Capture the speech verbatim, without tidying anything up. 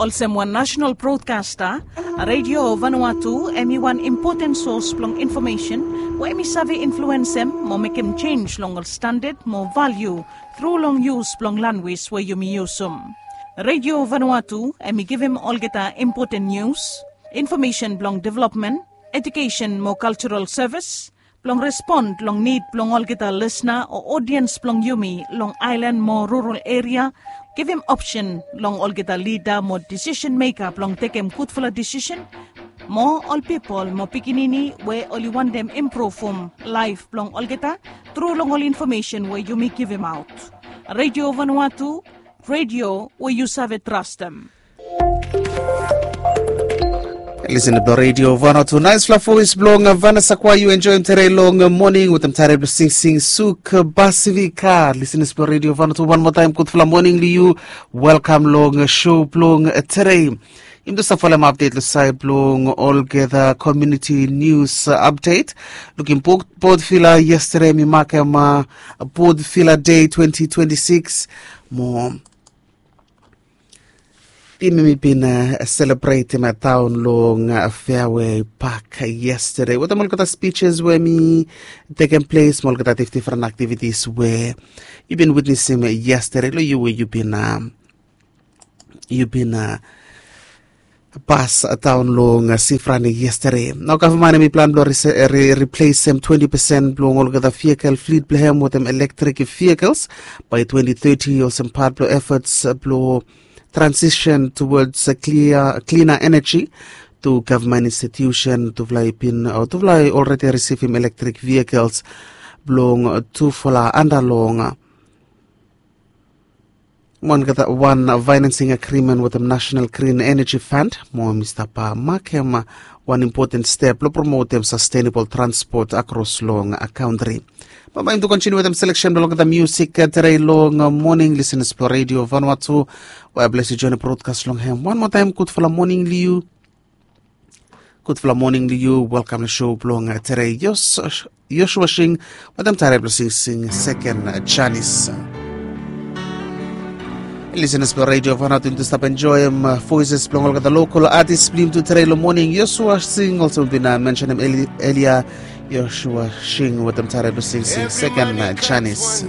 Olsem wan nasenal brodkasta, Radio Vanuatu em i wan impoten sos blong infomesen we em i save influensem mo mekem jenj long ol standad mo valiu tru long yus blong lanwis we yumi yusum. Radio Vanuatu em i givim olgeta impoten nius, infomesen blong developmen, ejukesen mo kaltural sevis, blong respon long nid blong olgeta lisna o odiens blong yumi long aelan mo rural eria, givim opsen long olgeta lida mo disisen meka blong tekem gudfala disisen, mo ol pipol mo pikinini we oli wantem impruvum laef blong olgeta tru long ol infomesen we yumi givimaot. Radio Vanuatu, radio we yu save trastem. Lisen to Radio Vanuatu, naesfala voes blong Vanessa Kwai yu enjoem tede long moning wetem tare blong singsing suk Pasifika. Lisen to Radio Vanuatu, wan moa taem gudfala moning long yu. Welkam long show blong tede. Yumi tu stap folem apdet long saed blong olgeta komuniti nius apdet. Lukim Port Vila yestede mi makem Port Vila Dei twenti twenti sikis. Mo tim i bin selebretem taon long Fairway Park yestede wetem olgeta spijis we mi tekem ples mo olgeta difdifren aktivitis we yu bin witnesim yestede long yu we yu bin yu bin pas daon long Sifrani yestede. Nao gavman hem i plan blong replesem twenti pesen blong olgeta vikel flit blong hem wetem elektrik vehikels bae twenti teti olsem pat blong efforts blong transition towards klina eneji. Tu gavman institusen tufala i bin o tufala i olredi risivim elektrik vehikels blong tufala anda long wan financing agreement wetem National Green Energy Fund mo mi stap makem wan impoten step blong promotem sastenabol transpot akros long kantri. Bambae yumi tu kontiniu wetem seleksen blong olgeta musik tede long moning, lisenas blong Radio Vanuatu we blesi joen brodkas long hem. Wan moa taem gudfala moning long yu. Gudfala moning long yu. Welkam long show blong tede. Joshua Sing wetem tare blong singsing Seken Janis. Lisenas blong Radio Vanuatu, yumi tu stap enjoem voeses blong olgeta lokal atis blong yumi tu tede long moning. Joshua Sing olsem we mi bin mensenem elia. Joshua Sing wetem tare blong singsing Seken Janis.